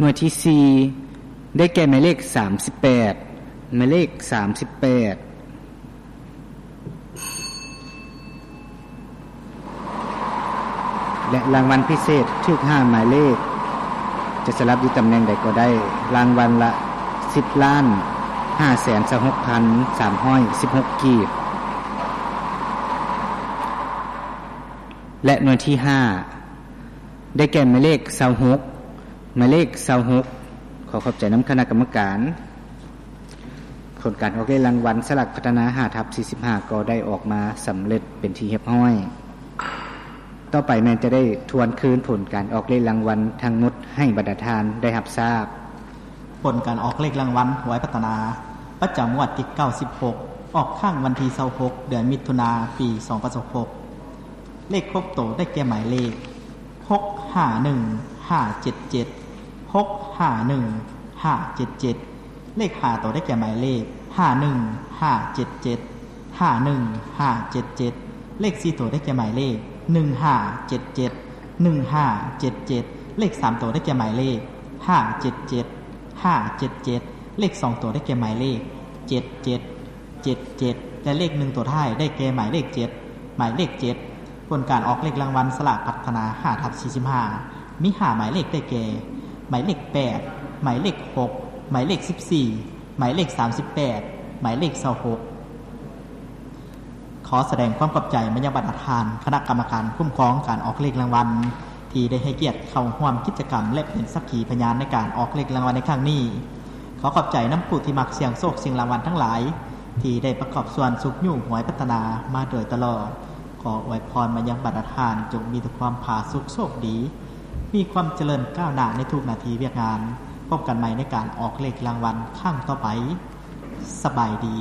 ໜ່ວຍທີສີ່ ໄດ້ແກ່ໝາຍເລກສາມສິບແປດ ໝາຍເລກສາມສິບແປດ ແລະ ລາງວັນພິເສດຖືກຫ້າໝາຍເລກ ຈະສະຫຼັບຢູ່ຕຳແໜ່ງໃດກໍໄດ້ ລາງວັນລະສິບລ້ານຫ້າແສນຊາວຫົກພັນສາມຮ້ອຍສິບຫົກກີບ ແລະ ໜ່ວຍທີຫ້າ ໄດ້ແກ່ໝາຍເລກຊາວຫົກ ໝາຍເລກຊາວຫົກ ຂໍຂອບໃຈນຳຄະນະກຳມະການ. ຜົນການອອກເລກລາງວັນສະຫຼາກພັດທະນາ ຫ້າທັບສີ່ສິບຫ້າ ກໍໄດ້ອອກມາສຳເລັດເປັນທີ່ຮຽບຮ້ອຍ. ຕໍ່ໄປແມ່ນຈະໄດ້ທວນຄືນຜົນການອອກເລກລາງວັນທັງໝົດໃຫ້ບັນດາທ່ານໄດ້ຮັບຊາບ. ຜົນການອອກເລກລາງວັນຫວຍພັດທະນາ ປະຈຳງວດທີເກົ້າສິບຫົກ ອອກຄັ້ງວັນທີຊາວຫົກ ເດືອນມິຖຸນາ ປີສອງພັນຊາວຫົກ. ເລກຫົກໂຕໄດ້ແກ່ໝາຍເລກ ຫົກຫ້າໜຶ່ງຫ້າເຈັດເຈັດ ຫົກຫ້າໜຶ່ງຫ້າເຈັດເຈັດ. ເລກຫ້າໂຕໄດ້ແກ່ໝາຍເລກ ຫ້າໜຶ່ງຫ້າເຈັດເຈັດ ຫ້າໜຶ່ງຫ້າເຈັດເຈັດ. ເລກສີ່ໂຕໄດ້ແກ່ໝາຍເລກ ໜຶ່ງຫ້າເຈັດເຈັດ ໜຶ່ງຫ້າເຈັດເຈັດ. ເລກສາມໂຕໄດ້ແກ່ໝາຍເລກ ຫ້າເຈັດເຈັດ ຫ້າເຈັດເຈັດ. ເລກສອງໂຕໄດ້ແກ່ໝາຍເລກ ເຈັດເຈັດ ເຈັດເຈັດ ແລະ ເລກໜຶ່ງໂຕທ້າຍໄດ້ແກ່ໝາຍເລກເຈັດ ໝາຍເລກເຈັດ. ຜົນການອອກເລກລາງວັນສະຫຼາກພັດທະນາ ຫ້າທັບສີ່ສິບຫ້າ ມີຫ້າໝາຍເລກໄດ້ແກ່ ໝາຍເລກແປດ ໝາຍເລກຫົກ ໝາຍເລກສິບສີ່ ໝາຍເລກສາມສິບແປດ ໝາຍເລກຊາວຫົກ. ຂໍສະແດງຄວາມຂອບໃຈມາຍັງບັນດາທ່ານຄະນະກຳມະການຄຸ້ມຄອງການອອກເລກລາງວັນ ທີ່ໄດ້ໃຫ້ກຽດເຂົ້າຮ່ວມກິດຈະກຳ ແລະ ເປັນສັກຂີພະຍານໃນການອອກເລກລາງວັນໃນຄັ້ງນີ້. ຂໍຂອບໃຈນຳຜູ້ທີ່ມັກສ່ຽງໂຊກສ່ຽງລາງວັນທັງຫຼາຍ ທີ່ໄດ້ປະກອບສ່ວນຊຸກຍູ້ຫວຍພັດທະນາມາໂດຍຕະຫຼອດ. ຂໍອວຍພອນມາຍັງບັນດາທ່ານ ຈົ່ງມີແຕ່ຄວາມຜາສຸກໂຊກດີ, ມີຄວາມຈະເລີນກ້າວໜ້າໃນທຸກໜ້າທີ່ວຽກງານ. ພົບກັນໃໝ່ໃນການອອກເລກລາງວັນຄັ້ງຕໍ່ໄປ. ສະບາຍດີ.